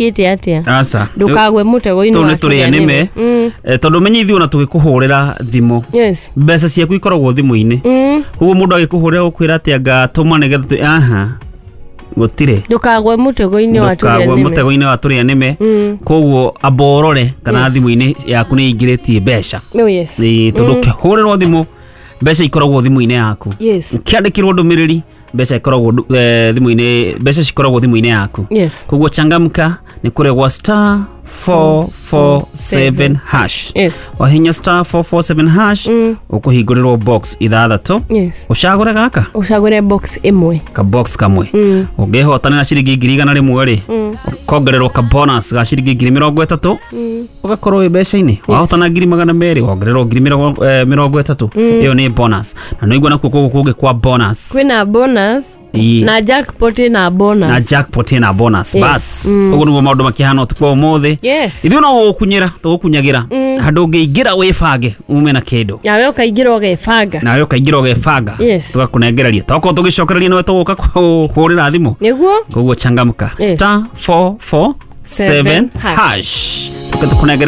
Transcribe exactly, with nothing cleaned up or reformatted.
Ĩte atĩa? Aca. Ndũkagwe mũtego-inĩ Tũu wa nĩ tũrĩa nĩme. Mm. Eh, tondũ menye ithuĩ ona tũgĩkũhũrĩra thimũ, Yes. mbeca ciaku ikoragwo thimũ-inĩ. Mm. Koguo mũndũ agĩkũhũrĩra gũkwĩra atĩ anga tũma nĩgetha tũ- aha, gũtirĩ. Ndũkagwe mũtego-inĩ wa tũrĩa Ndũkagwe nĩme. mũtego-inĩ wa tũrĩa nĩme. Mm. Koguo amba ũrore kana Yes. thimũ-inĩ yaku nĩ ingĩrĩtie mbeca. Oh, yes. Ĩĩ, tondũ ũkĩhũrĩrwo thimũ, mbeca ikoragwo thimũ-inĩ yaku. Yes. Ũkĩandĩkĩrwo ndũmĩrĩri, mbeca ikoragwo ndu- eh, thimũ-inĩ, mbeca cikoragwo thimũ-inĩ yaku. Yes. Koguo changamka, nĩ kũrĩa gwa star four four seven hash. Yes. Wahinya star four four seven hash, Mm. ũkũhingũrĩrwo box ithathatũ. Yes. Ũcagũre gaka. Ũcagũre box ĩmwe. Ka box kamwe. Mm. Ũngĩhotanĩra ciringi ngiri igana rĩmwe rĩ, Mm. ũkongererwo ka bonus ga ciringi ngiri mĩrongo ĩtatũ, Mm. ũgakorwo wĩ mbeca-inĩ. Wahotana ngiri magana merĩ, wongererwo ngiri mĩrongo eh, mĩrongo ĩtatũ. Ĩyo nĩ bonus, na nĩigua nakuo kũgũ kũngĩ kwa bonus. Kwĩna bonus. Ĩĩ. Na jackpot ĩna bonus. Na jackpot ĩna bonus. Yes. Bas, ũguo nĩguo maũndũ makĩhana ũtukũ wa ũmũthĩ. Yes. Ithuĩ no gũgũkunyĩra tũgũkunyagĩra handũ ũngĩingĩra wĩbange ume na kĩndũ. Nawe ũkaingĩra ũgebanga. Nawe ũkaingĩra ũgebanga. Yes. Tũgakũnengereria, tokorwo tũgĩcokereria nĩwe tũgũka kũhũrĩra thimũ. Nĩguo. Koguo changamka. Yes. Star four four seven Seven hash. hash, tũke tũkũnengereria.